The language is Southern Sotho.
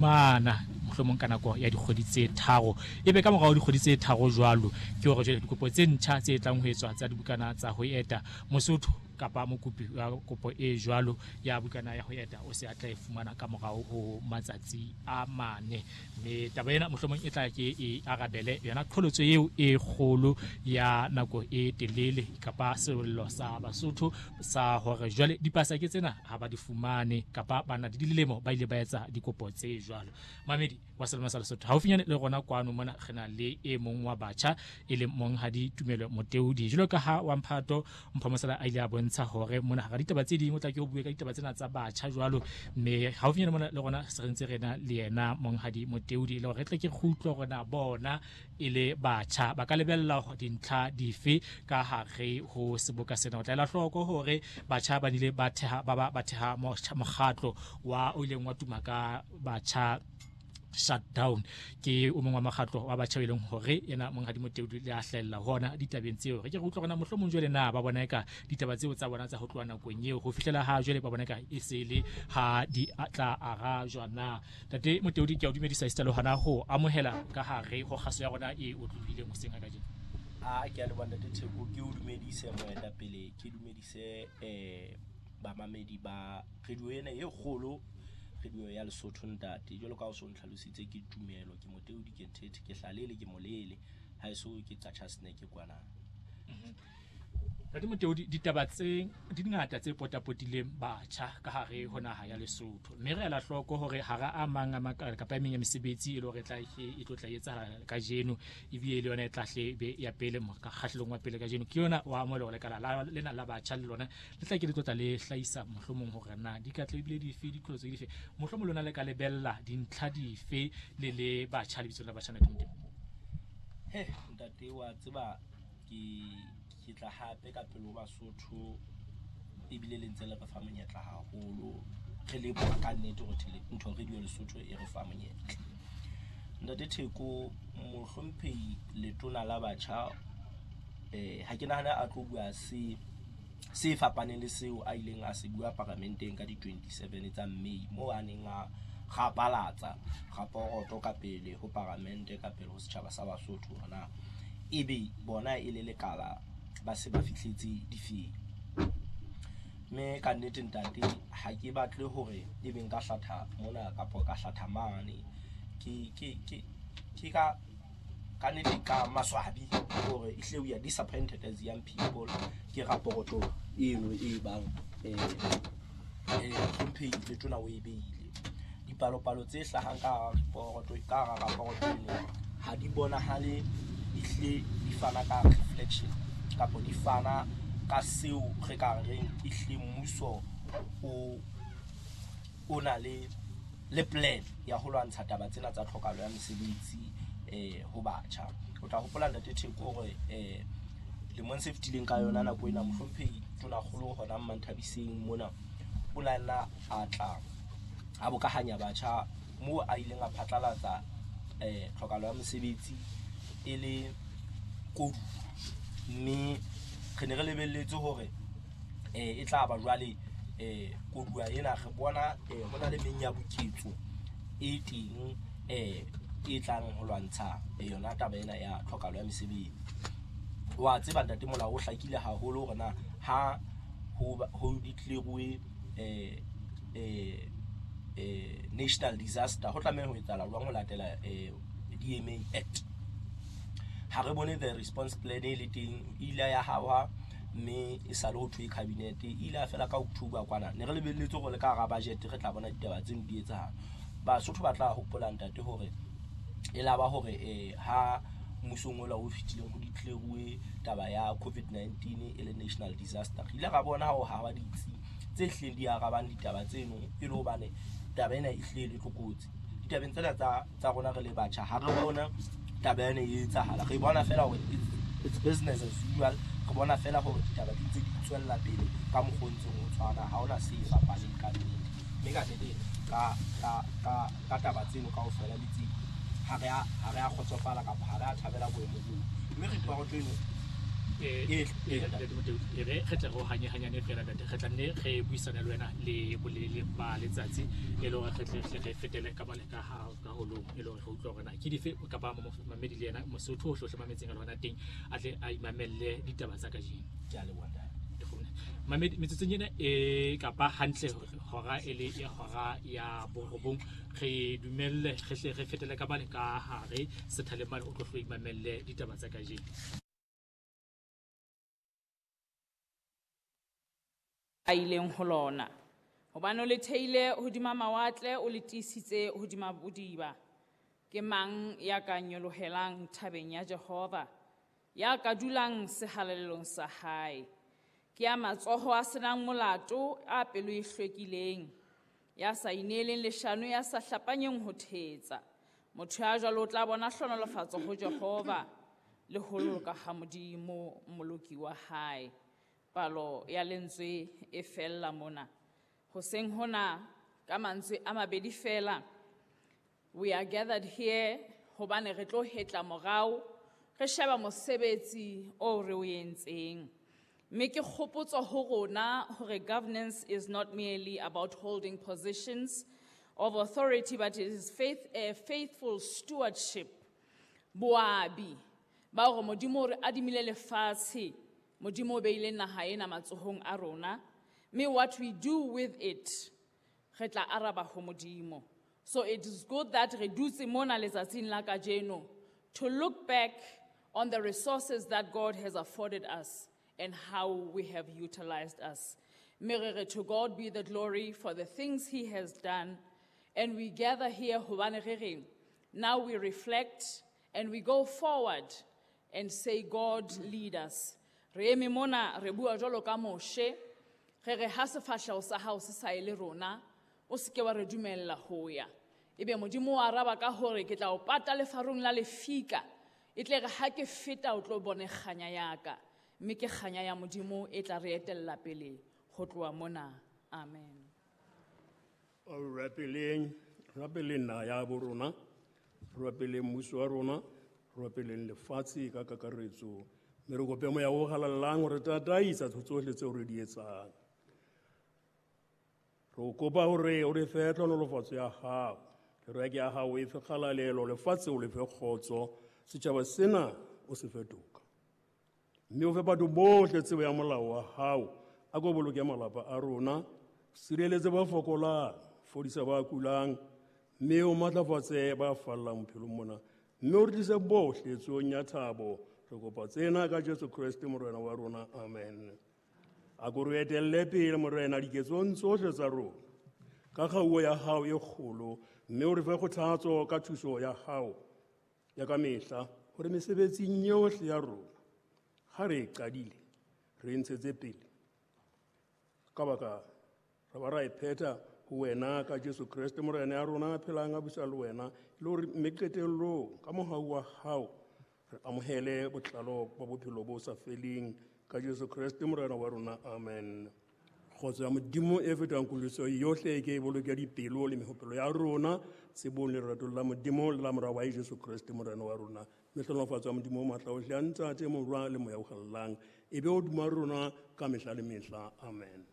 Mana mohlomong ka nako ya dikgwedi tse tharo, ebe ka morao dikgwedi tse tharo jwalo ke hore jwale dikopo tse ntjha tse tlang ho etswa tsa dibukana tsa ho eta. Mosotho kapa mokopi wa kopo e jwalo ya bukana ya ho eta o se a tla e fumana ka morao ho matsatsi a mane. Mme taba ena mohlomong e tla ke e arabele yona qholotso eo e kgolo ya nako e telele kapa sello sa Basotho sa hore jwale dipasa ke tsena ha ba di fumane kapa ba na le dilemo ba ile ba etsa dikopo tse jwalo. Mamedi wa Selemo sa Lesotho, haufinyane le rona kwano mona re na le e mong wa batjha e leng monghadi Tumelo Moteodi. Jwalo ka ha wa mphato Mpho Mosala a ile a bontsha hore mona hara ditaba tse ding o tla ke ho bue ka ditaba tsena tsa batjha jwalo, mme haufinyane mona le rona se re ntse re na le yena monghadi Moteodi e le hore re tle ke re utlwe hore na bona e le batjha ba ka lebella dintlha dife ka hare ho seboka sena. O tla ela hloko hore batjha ba nile ba theha ba ba theha mokgatlo wa o ileng wa tuma ka batjha shutdown. Ke o mong wa mokgatlo wa batjha e leng hore yena monghadi Moteodi le a hlahella hona ditabeng tseo. Re ke re utlwa hore na mohlomong jwale na ba bona eka ditaba tseo tsa bona tsa ho tloha nakong eo ho fihlela ha jwale ba bona eka e se le ha di tla arajwa na. Ntate Moteodi, ke a o dumedisa esita le hona ho amohela ka hare ho kgaso ya rona e otlolohileng hoseng ha kajeno. A ke a leboha Ntate Theko, ke o dumedise moetapele, ke dumedise bamamedi ba radio ena e kgolo, radio ya Lesotho ntate. Jwalo ka ha o so ntlhalositse, ke Tumelo, ke Moteodi, ke Nthethe, ke Hlalele, ke Molele, haeso ke Qacha's Nek kwana. Ntate Moteodi, ditaba tse di ngata tse potapotileng batjha ka hare ho naha ya Lesotho, mme re ela hloko hore hara a mang a makala kapa e meng ya mesebetsi e le hore e tla e tlo tla etsahala kajeno, ebile le yona e tla hle be ya pele kgahlelong wa pele kajeno ke yona wa amohela hore lekala lena la batjha le lona le tla ke le tlo tla le hlahisa mohlomong hore na di ka tla ebile dife, diqholotso dife, mohlomong lona le ka lebella dintlha dife le le batjha lebitsong la batjha. Ntate Moteodi. He ntate, wa tseba ke tla hape ka pele ho Basotho, ebile le ntse le re fa monyetla haholo. Re leboha ka nnete hore ntho radio Lesotho e re fa monyetla. Ntate Theko, mohlomphehi letona la batjha, ha ke nahane a tlo bua se fapaneng le seo a ileng a se bua paramenteng ka di-27 tsa May, moo a neng a rapalatsa raporoto ka pele ho paramente, ka pele ho setjhaba sa Basotho, hore na ebe bona e le lekala ba se ba fihletse difeng. Mme ka nnete ntate, ha ke batle hore ebe nka hlatha mona kapa ka hlatha mane. Ke ka nnete ka maswabi hore ehlile we are disappointed as young people ke raporoto eno e bang mohlomphehi letona o e beile. Dipalopalo tse hlahang ka raporoto, ka hara raporoto eno ha di bonahale ehlile di fana ka reflection kapa di fana ka seo re ka reng ehlile mmuso o na le plan ya ho lwantsha taba tsena tsa tlhokahalo ya mesebetsi ho batjha. O tla hopola Ntate Theko hore lemong se fetileng ka yona nako ena mohlomphehi Tonakgolo hona Mmanthabiseng mona o la nna a tla a bokahanya batjha moo a ileng a phatlalatsa tlhokahalo ya mosebetsi e le koduwa, mme re ne re lebelletse hore e tla ba jwale koduwa ena re bona ho na le menyabuketso e teng e tlang ho lwantsha yona taba ena ya tlhokahalo ya mesebetsi. Wa tseba ntate, molao o hlakile haholo hore na ha ho declare-uwe national disaster ho tlameha ho etsahala jwang ho latela DMA Act. Ha re bone the response plan e le teng, e ile ya hawa mme e sale ho thwe cabinet, e ile ya fela ka October kwana. Ne re lebelletse hore le ka hara budget re tla bona ditaba tseno di etsahala. Basotho ba tla hopola ntate hore e la ba hore ha mmusong ola o fetileng ho declare-uwe taba ya COVID-19 e le national disaster, re ile ra bona ho hawa ditsi tse hlileng di arabang ditaba tseno e le hobane taba ena e hlile le tlokotsi. Ditabeng tsena tsa rona re le batjha ha re bona taba ena e etsahala, re bona fela hore it's business as usual. Re bona fela hore ditaba di ntse di tswella pele ka mokgwa o ntseng o tshwana, ha hona se fapaneng ka nnete. Mme ka nnete ka taba tseno kaofela le tse ha re a kgotsofala kapa ha re a thabela boemo boo. Mme report eno E re re tle re o hanyehanyane fela ntate, re tla nne re buisane le wena le bolelele ba letsatsi, e le hore re tle re fetele ka mane ka ha ka holong, e le hore re utlwe hore na ke dife kapa mamedi le yena Mosotho o hlohle mametseng a le hona teng a tle a imamelle ditaba tsa kajeno. Ke a leboha ntate. Mamedi, metsotsong ena e kapa hantle hora e le ya hora ya borobong, re dumelle re hle re fetele ka mane ka hare sethaleng mane o tlo hlo imamelle ditaba tsa kajeno. A ileng ho lona. Hobane o le theile hodima mawatle, o le tiisitse hodima bodiba. Ke mang ya ka nyolohelang thabeng ya Jehova, ya ka dulang sehalalelong sa hae? Ke ya matsoho a senang molato, a pelo e hlwekileng, ya sa ineeleng leshano, ya sa hlapanyeng ho thetsa. Motho ya jwalo o tla bona hlohonolofatso ho Jehova le ho loka ha Modimo moloki wa hae. Palo ya lentswe e fella mona. Hoseng hona ka mantswe a mabedi fela, we are gathered here hobane re tlo hetla morao, re sheba mosebetsi o re o entseng. Mme ke kgopotso ho rona hore governance is not merely about holding positions of authority, but it is a faithful stewardship. Boabi ba hore Modimo o re adimile lefatshe, Modimo o beile naha ena matsohong a rona, mme what we do with it, re tla araba ho Modimo. So it is good that re dutse mona letsatsing la kajeno to look back on the resources that God has afforded us and how we have utilized us. Mme re re, to God be the glory for the things he has done. And we gather here hobane re reng, now we reflect and we go forward and say, God lead us. Re eme mona, re bua jwalo ka Moshe, re re ha sefahleho sa hao se sa ye le rona, o se ke wa re dumella ho ya. Ebe Modimo o araba ka hore ke tla o pata lefarung la lefika, e tle re ha ke feta o tlo bone kganya ya ka. Mme ke kganya ya Modimo e tla re etella pele ho tloha mona. Amen. O rapeleng, rapeleng naha ya bo rona, rapeleng mmuso wa rona, rapeleng lefatshe ka kakaretso. Mme re kope moya o halalelang hore tataisa tsohle tseo re di etsang. Re o kopa hore o re fe tlhonolofatso ya hao, kereke ya hao e fe kgalalelo, lefatshe o le fe kgotso, setjhaba sena o se fe toka. Mme o fe batho bohle tsebo ya molao wa hao, a ko boloke malapa a rona, sireletse ba fokolang, fodisa ba kulang, mme o matlafatse ba fallang bophelong mona, mme o re tlise bohle tsohong ya thabo. Re kopa tsena ka Jesu Kreste Morena wa rona, amen. A ko re etelle pele Morena diketsong tsohle tsa rona, ka kgauo ya hao e kgolo, mme o re fe kgothatso ka thuso ya hao ya ka mehla, hore mesebetsing yohle ya rona ha re e qadile re e ntshetse pele, ka baka ra ba ra e phetha ho wena ka Jesu Kreste Morena ya rona a phelang a busa le wena, e le hore mme qetellong ka mohau wa hao re amohele botlalo ba bophelo bo sa feleng ka Jesu Kreste Morena wa rona, amen. Kgotso ya Modimo e fetang kutlwisiso yohle e ke e boloke dipelo le mehopolo ya rona tsebong le leratong la Modimo le la Mora wa Jesu Kreste Morena wa rona. Mme hlohonolofatso ya Modimo o matla ohle, ya Ntate, Morwa le Moya o Halalelang, e be hodima rona ka mehla le mehla. Amen.